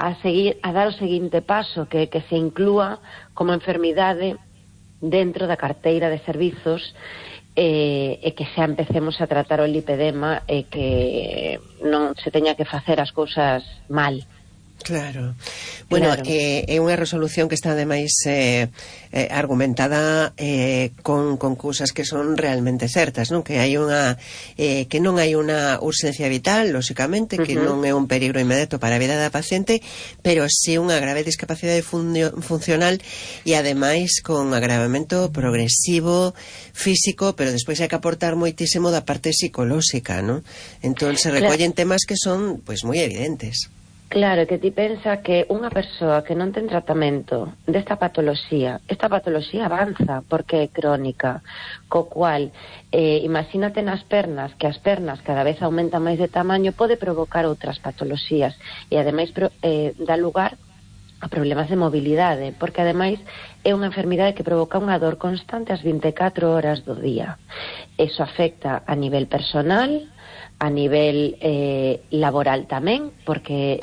a dar o seguinte paso, que se inclúa como enfermidade dentro da carteira de servizos, e que xa empecemos a tratar o lipedema e que non se teña que facer as cousas mal. Claro. Bueno, claro. É unha resolución que está ademais argumentada con cousas que son realmente certas, non? Que hai unha que non hai unha urxencia vital, lóxicamente, que non é un peligro inmediato para a vida da paciente, pero sí unha grave discapacidade funcional e ademais con agravamento progresivo físico, pero despois hai que aportar moitísimo da parte psicolóxica, non? Entón se recollen temas que son pois moi evidentes. Claro, que ti pensa que unha persoa que non ten tratamento esta patoloxía avanza porque é crónica, co cual imagínate nas pernas, que as pernas cada vez aumentan máis de tamaño, pode provocar outras patoloxías e ademais dá lugar a problemas de mobilidade, porque ademais é unha enfermidade que provoca unha dor constante as 24 horas do día. Eso afecta a nivel personal, a nivel laboral tamén, porque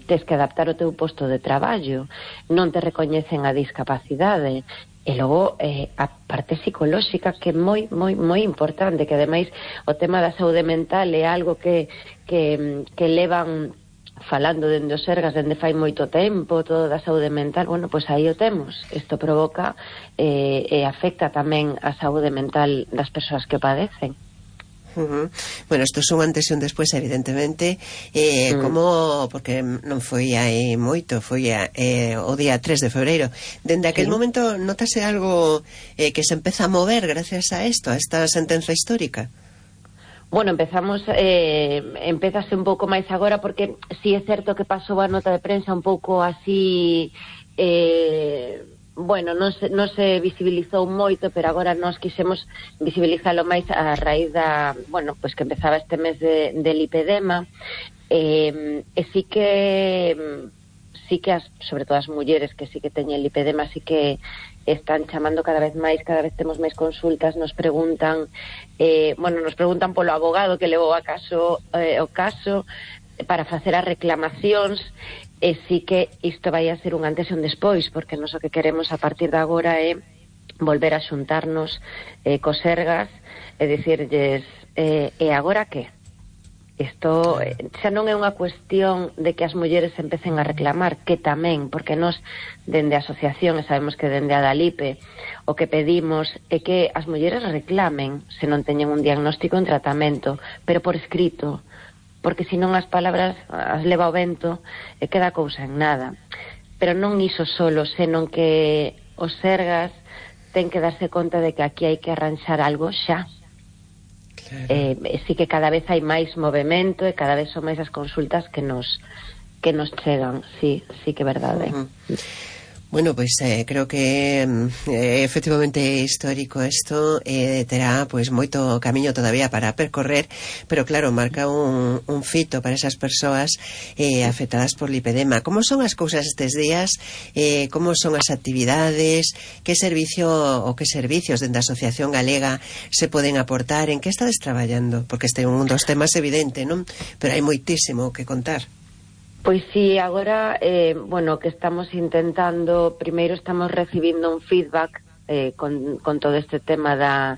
tes que adaptar o teu posto de traballo, non te recoñecen a discapacidade, e logo a parte psicolóxica, que é moi, moi, moi importante, que ademais o tema da saúde mental é algo que levan falando dende os Sergas dende fai moito tempo, todo da saúde mental. Bueno, pois aí o temos. Isto provoca e afecta tamén a saúde mental das persoas que o padecen. Bueno, isto son antes e un despois, evidentemente, como, porque non foi aí moito, foi o día 3 de febreiro. Dende aquel momento notase algo que se empeza a mover gracias a isto, a esta sentenza histórica? Bueno, empezase un pouco máis agora, porque si é certo que pasou a nota de prensa un pouco así... Bueno, non se visibilizou moito, pero agora nós quixemos visibilizalo máis a raíz da, bueno, pois que empezaba este mes de lipedema, e sí que sobre todo as mulleres que sí que teñen lipedema, sí que están chamando cada vez temos máis consultas, nos preguntan polo abogado que levou o caso para facer as reclamacións. E sí que isto vai a ser un antes e un despois, porque nos o que queremos a partir de agora é volver a xuntarnos cos Sergas e dicirlles e agora que? Isto xa non é unha cuestión de que as mulleres empecen a reclamar, que tamén, porque nós dende a asociación, e sabemos que dende a Dalipe, o que pedimos é que as mulleres reclamen se non teñen un diagnóstico en tratamento, pero por escrito, porque senón as palabras as leva o vento e queda a cousa en nada. Pero non iso solo, senón que os Sergas ten que darse conta de que aquí hai que arranxar algo xa. Claro. Sí que cada vez hai máis movimento e cada vez son máis as consultas que nos chegan, sí que é verdade. Bueno, pois creo que efectivamente é histórico isto, terá pois moito camiño todavía para percorrer, pero claro, marca un fito para esas persoas afectadas por lipedema. Como son as cousas estes días? Como son as actividades? Que servicio ou que servicios dende a Asociación Galega se poden aportar? En que estades traballando? Porque este é un dos temas evidente, non? Pero hai moitísimo que contar. Pois sí, agora, que estamos intentando, primeiro estamos recibindo un feedback con todo este tema da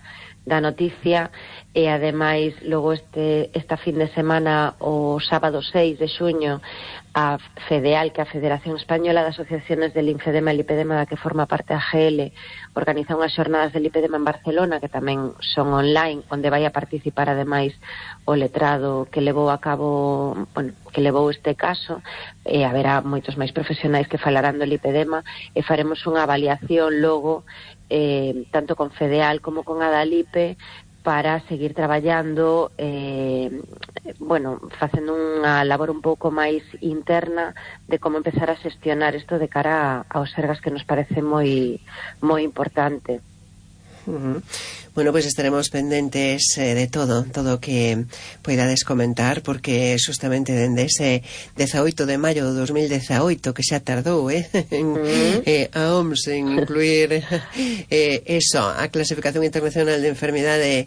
noticia, e ademais logo esta fin de semana, o sábado 6 de xuño, a FEDEAL, que é a Federación Española de Asociaciones de Linfedema e Lipedema, da que forma parte a GL, organiza unhas xornadas de lipedema en Barcelona, que tamén son online, onde vai a participar ademais o letrado que levou a cabo, que levou este caso, e haberá moitos máis profesionais que falarán do lipedema, e faremos unha avaliación logo, tanto con FEDEAL como con Adalipe, para seguir traballando, facendo unha labor un pouco máis interna de como empezar a xestionar isto de cara aos Sergas, que nos parece moi moi importante. Bueno, pois estaremos pendentes de todo o que poidades comentar, porque justamente dende ese 18 de maio de 2018, que xa tardou a OMS en incluir eso, a clasificación internacional de enfermidade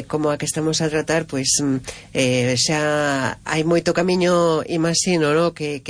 como a que estamos a tratar, pois xa hai moito camiño, imagino, no? que